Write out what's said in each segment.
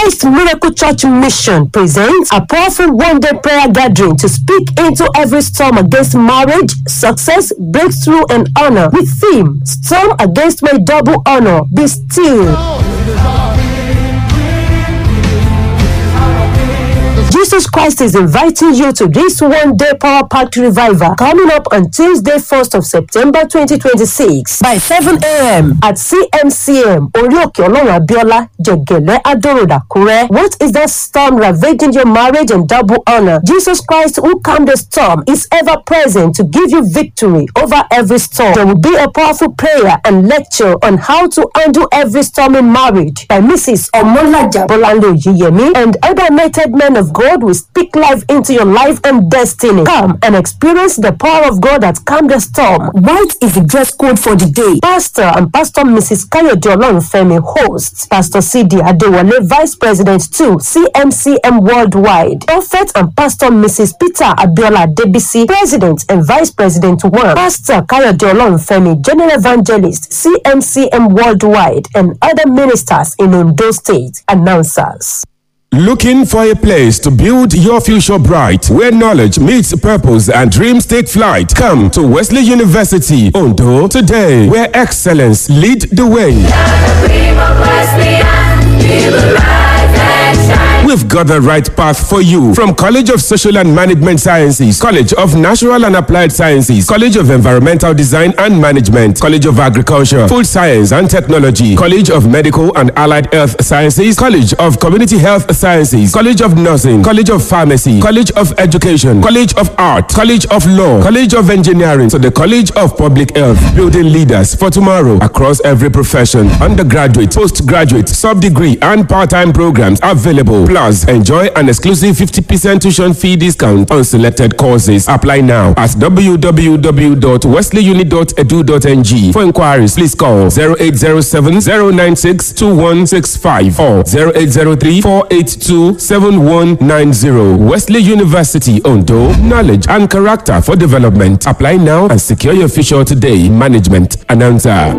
Christ Miracle Church Mission presents a powerful one-day prayer gathering to speak into every storm against marriage, success, breakthrough, and honor with theme Storm Against My Double Honor. Be still. Jesus Christ is inviting you to this one-day power packed revival coming up on Tuesday, 1st of September 2026 by 7 a.m. at CMCM Orioke Olorun Abiola, Jegele Adoroda, Akure. What is that storm ravaging your marriage and double honor? Jesus Christ, who calmed the storm, is ever present to give you victory over every storm. There will be a powerful prayer and lecture on how to handle every storm in marriage by Mrs. Omolaja Bolanle Oyeyemi and other anointed men of God will speak life into your life and destiny. Come and experience the power of God that calmed the storm. White is the dress code for the day. Pastor and Pastor Mrs. Kayode Olorunfemi hosts. Pastor C.D. Adewale, Vice President 2, CMCM Worldwide. Prophet and Pastor Mrs. Peter Abiola Debisi, President and Vice President 1. Pastor Kayode Olorunfemi, General Evangelist, CMCM Worldwide, and other ministers in Ondo State. Announcers. Looking for a place to build your future bright, where knowledge meets purpose and dreams take flight? Come to Wesley University, Ondo, today, where excellence lead the way. We've got the right path for you from College of Social and Management Sciences, College of Natural and Applied Sciences, College of Environmental Design and Management, College of Agriculture, Food Science and Technology, College of Medical and Allied Health Sciences, College of Community Health Sciences, College of Nursing, College of Pharmacy, College of Education, College of Art, College of Law, College of Engineering, to the College of Public Health, building leaders for tomorrow across every profession. Undergraduate, postgraduate, sub-degree and part-time programs available. Plus, enjoy an exclusive 50% tuition fee discount on selected courses. Apply now at www.wesleyuni.edu.ng. For inquiries, please call 0807 096 2165 or 0803 482 7190. Wesley University, Ondo. Knowledge and character for development. Apply now and secure your future today. Management announcer.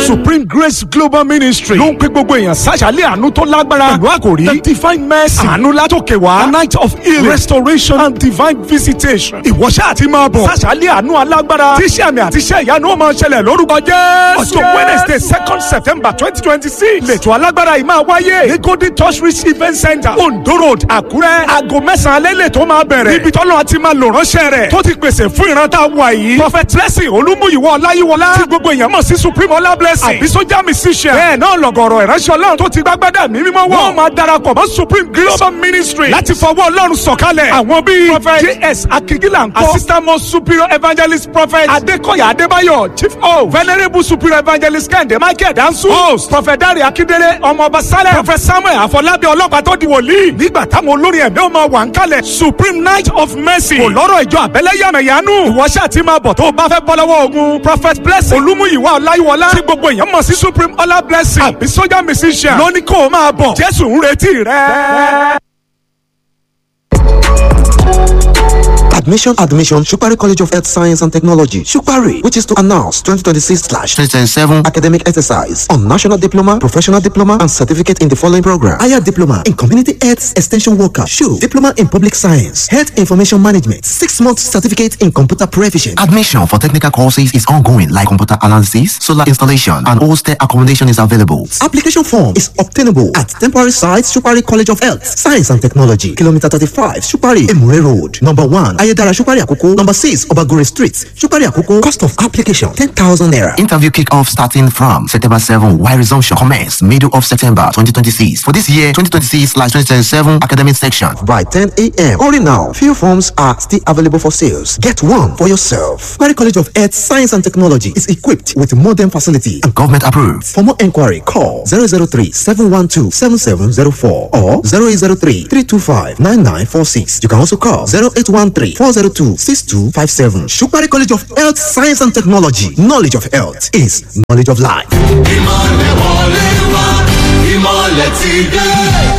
Supreme Grace Global Ministry ló ń pè gbogbo èèyàn sáṣàlẹ̀ àánú tó lágbára pẹ̀lú àkòrí the divine mercy àánú látòkè wá a night of healing, restoration and divine visitation. Ìwọ́ṣẹ́ àti máa bọ̀ sáṣàlẹ̀ àánú alágbára tíṣẹ́ àmì àti iṣẹ́ ìyanu ó máa ṣẹlẹ̀ lórúkọ Jésù. Ọjọ́ Wednesday 2nd September 2026 lẹ́tọ̀ alágbára yìí máa wáyé ní Golden Touch Reach Event Center, Ondo Road, Àkúrẹ́. Aago 9 alẹ́ lẹ́tọ̀ máa bẹ̀rẹ̀ níbi tọ́lọ́ àti máa lò ránṣẹ́ rẹ̀ tó ti pèsè fún ìran tá a wà yìí. Prophet Blessing Olúmúyìwọ́ Ọláyíwọlá tí gbogbo èèyàn mọ̀ sí Supreme Ọlá Blessing àbí sójà musician. Bẹ́ẹ̀ náà lọ̀gọ̀rọ̀ ìránṣẹ́ Ọlọ́run tó ti gbàgbádà mí mímọ́ wọ̀. Wọ́n máa darapọ̀ mọ́ Supreme Global Ministry láti fọwọ́ Ọlọ́run sọ̀kalẹ̀. Àwọn bíi Prophet J.S. Akigila ńkọ́, Assistant Most Superior Evangelist Prophet Adekoya Adebayo, Chief O, Venerable Superior Evangelist Kẹ́hìndé Michael Dansu, Host Prophet Dare Akindele Ọmọọba Salem, Prophet Samuel Afọlábí ọlọ́pàá tó di wòlíì. Nígbà táwọn olórin ẹ̀mí ó máa wà ń kalẹ̀, Supreme Night of Mercy kò lọ́rọ̀ ìjọ àbẹ́lẹ́yàmẹ̀yánú. Ìwọ ṣáà ti máa bọ̀ tó o bá fẹ́ bọ́ lọ́wọ́ ogun. Prophet Blessing Olúmúyìwá Ọláyíwọlá tí gbogbo èèyàn mọ̀ sí Supreme Ọlá Blessing àbí sójà musician ló ní kó o máa bọ̀. Jésù ń retí rẹ. Admission, admission, Shukari College of Health Science and Technology, Shukari, which is to announce 2026/2027 academic exercise on national diploma, professional diploma, and certificate in the following program: Higher diploma in community health extension worker, SHU, diploma in public science, health information management, 6-month certificate in computer proficiency. Admission for technical courses is ongoing, like computer analysis, solar installation, and hostel accommodation is available. Application form is obtainable at temporary site, Shukari College of Health, Science and Technology, Kilometer 35, Shukari, Emure Road, number 1, Ayedara, Shukari Akoko, number 6, Obagore Street, Shukari Akoko. Cost of application, 10,000 naira. Interview kick-off starting from September 7, while resumption commence middle of September 2026. For this year, 2026/2027 academic section. By 10 a.m. Hurry now. Few forms are still available for sales. Get one for yourself. Shukari College of Health, Science and Technology is equipped with modern facility and government approved. For more inquiry, call 003-712-7704 or 0803-325-9946. You can also call 0813-402-6257. Shukari College of Health, Science and Technology. Knowledge of health is knowledge of life. Ìmọ̀lẹ̀ wọlé wá, ìmọ̀lẹ̀. Ìmọ̀lẹ̀ ti dé.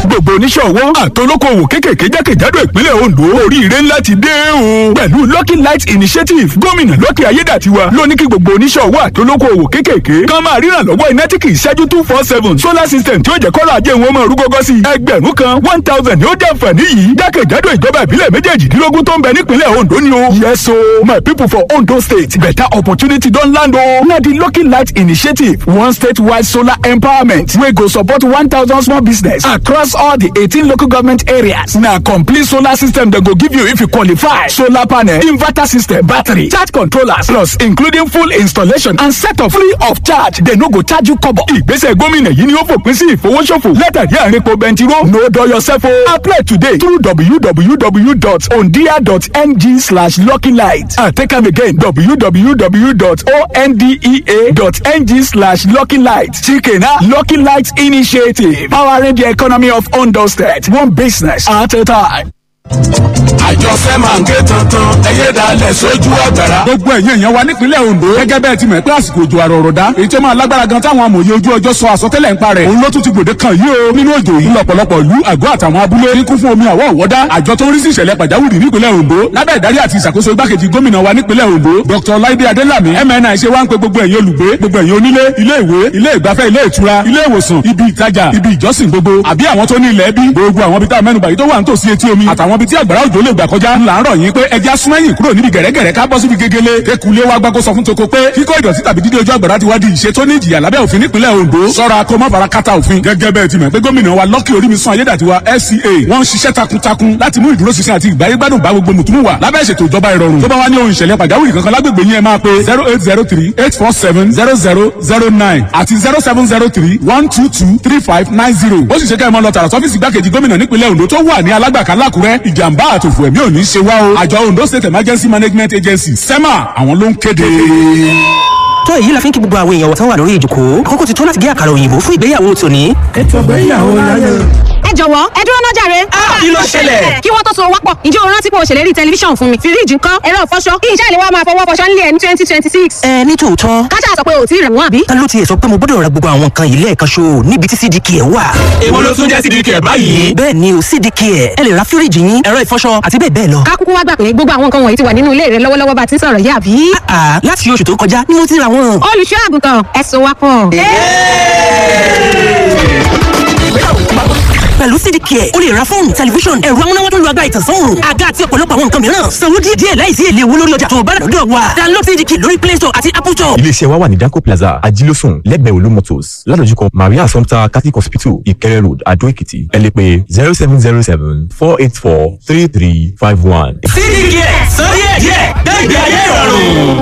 Gbogbo oníṣòwò àtolókòwò kékèké jákèjádò ìpínlẹ̀ Ondo, oríire ńlá ti dé o. Pẹ̀lú Lucky Light Initiative, gómìnà Lucky Ayédàtiwa ló ní kí gbogbo oníṣòwò àtolókòwò kékèké kan máa ríran lọ́wọ́ iná tí kì í ṣẹ́jú 24/7 solar system tí ó jẹ́ kọ́lá ajé wọn máa rú gọ́gọ́ sí i. 1,000 1,000 ni ó jẹ́ àǹfààní yìí jákèjádò ìjọba ìbílẹ̀ méjèèjìdínlógún tó ń bẹ nípínlẹ̀ Ondo ni o. Yes o, my people for Ondo State, better opportunity don land o. Na the Lucky Light Initiative, one statewide solar empowerment wey go support 1,000 small business across all the 18 local government areas. Na complete solar system dem go give you if you qualify. Solar panel, inverter system, battery, charge controllers, plus including full installation and setup free of charge. Dem no go charge you kobo. Ìgbésẹ̀ gómìnà yìí ni ó fòpin sí ìfowóṣòfò látàrí àárín epo bẹntiró. No dull yourself o. Apply today through www.ondia.ng/luckylight and take am again, www.ondea.ng/luckylight. Chike na Lucky Light Initiative, powering the economy of Ondo State, one business at a time. Àjọṣe máa ń ké tuntun, ẹyẹ dalẹ̀ sójú ọ̀gbẹ̀rà. Gbogbo ẹ̀yin èèyàn wa nípínlẹ̀ Ondo, gẹ́gẹ́ bẹ́ẹ̀ ti mọ̀ pé àsìkò òjò àrò ọ̀rọ̀dá èyí tó máa lágbára gan táwọn amòye ojú ọjọ́ sọ àsọtẹ́lẹ̀ ń parẹ̀, òun ló tún ti gbòde kan yìí o. Nínú òjò yìí, lọ́pọ̀lọpọ̀ ìlú, àgọ́ àtàwọn abúlé ní kún fún omi àwọ̀ ọ̀wọ́dá. Àjọ tó ń rí sí ìṣẹ̀lẹ̀ pàjáwìrì nípínlẹ̀ Ondo lábẹ́ ìdarí àti ìṣàkóso igbákejì gómìnà wa nípínlẹ̀ Ondo, Dr. Laide Adelami MNI, ṣe wá ń pe gbogbo ẹ̀yin olùgbé, gbogbo ẹ̀yin onílé, ilé ìwé, ilé ìgbafẹ́, ilé ìtura, ilé ìwòsàn, ibi ìtajà, ibi ìjọsìn gbogbo, àbí àwọn tó ní ilẹ̀ ẹbí, gbogbo àwọn ibi tá a mẹ́nubà yìí tó wà nítòsí etí omi àtàwọn ibi tí àgbàrá òjò lè gbà kọjá, ńlá ń rọ̀ yín pé ẹja súnmẹ́yìn kúrò níbi gẹ̀rẹ́gẹ̀rẹ́, ká bọ́ síbi gegele. Kékulé wa gbàgbó sọ fún toko pé kíkọ́ ìdọ̀tí tàbí dídé ojú àgbàrá ti wá di ìṣe tó ní ìjìyà lábẹ́ òfin nípínlẹ̀ Ondo. Sọ́ra kó má fara kátà òfin. Gẹ́gẹ́ bẹ́ẹ̀ ti mọ̀ pé gómìnà wa Lucky Orímisun Ayédàtiwa FCA, wọ́n ń ṣiṣẹ́ takuntakun láti mú ìdúróṣinṣin àti ìgbáyégbádùn bá gbogbo mùtúmù wà lábẹ́ ìṣètò ìjọba ìrọ̀rùn. Tó bá wá ní ohun ìṣẹ̀lẹ̀ pàjáwìrì kankan lágbègbè yín, ẹ máa pe 08038470009 àti 07031223590. Ó sì ṣe kẹ́ ẹ máa lọ tààrà sọ́fíìsì igbákejì gómìnà nípínlẹ̀ Ondo tó wà ní Alágbàká lákùrẹ́. Ìjàmbá àtòfò ẹ̀mí ò ní ṣe wá o. Àjọ Ondo State Emergency Management Agency, SEMA, àwọn ló ń kéde. Tó èyí la fi ń kí gbogbo àwọn èèyàn wọ̀tán wà lórí ìjòkó. Àkókò ti tó láti gé àkàrà òyìnbó fún ìgbéyàwó tòní. Ètò ìgbéyàwó láyé. Ẹ jọ̀wọ́, ẹ dúró náà jàre. Kí ló ṣẹlẹ̀? Kí wọ́n tó so wápọ̀, ǹjẹ́ o rántí pé o ṣèlérí tẹlifíṣàn fún mi? Fíríjì ńkọ́? Ẹ̀rọ ìfọṣọ? Kí iṣẹ́ ìléwọ́ máa fọwọ́ fọṣọ nílé ẹ̀ ní 2026? Ẹ ní tòótọ́. Káṣá sọ pé o ò tí ì rẹ̀ wọ́n, àbí? Ta ló tiẹ̀ sọ pé mo gbọ́dọ̀ ra gbogbo àwọn nǹkan yìí lẹ́ẹ̀kan ṣo níbi tí CDK ẹ̀ wà? Èwo ló tún jẹ́ CDK báyìí? Bẹ́ẹ̀ ni o, CDK ẹ̀. Ẹ lè ra fíríjì yín, ẹ̀rọ ìfọṣọ àti bẹ́ẹ̀ bẹ́ẹ̀ lọ. Ká kúkú wá gbà pé gbogbo àwọn nǹkan wọ̀nyí ti wà nínú ilé rẹ lọ́wọ́lọ́wọ́ bá ti ń sọ̀rọ̀ yìí, àbí? Àà, láti oṣù tó kọjá ni mo ti ra wọn. Olùṣọ́ àgùntàn, ẹ so wá pọ̀. Pẹ̀lú CDK, o lè ra fóònù, tẹlifíṣàn, ẹ̀rọ amúnáwá tó ń lo agbára ìtànsán òòrùn, àga àti ọ̀pọ̀lọpọ̀ àwọn nǹkan mìíràn. Sanwó díẹ̀ díẹ̀ láìsí èlé owó lórí ọjà tó o bá rà lọ́dọ̀ wa. Download CDK lórí Play Store àti Apple Store. Iléeṣẹ́ wa wà ní Danco Plaza, Ajílósùn, lẹ́gbẹ̀ẹ́ Olú Motors, ládojúkọ Maria Assumpta Catholic Hospital, Ìkẹrẹ Road, Adó Èkìtì. Ẹ lè pè 07074843351. CDK, sọ díẹ̀ díẹ̀, gbẹ̀gbẹ̀ ayé ìrọ̀rùn.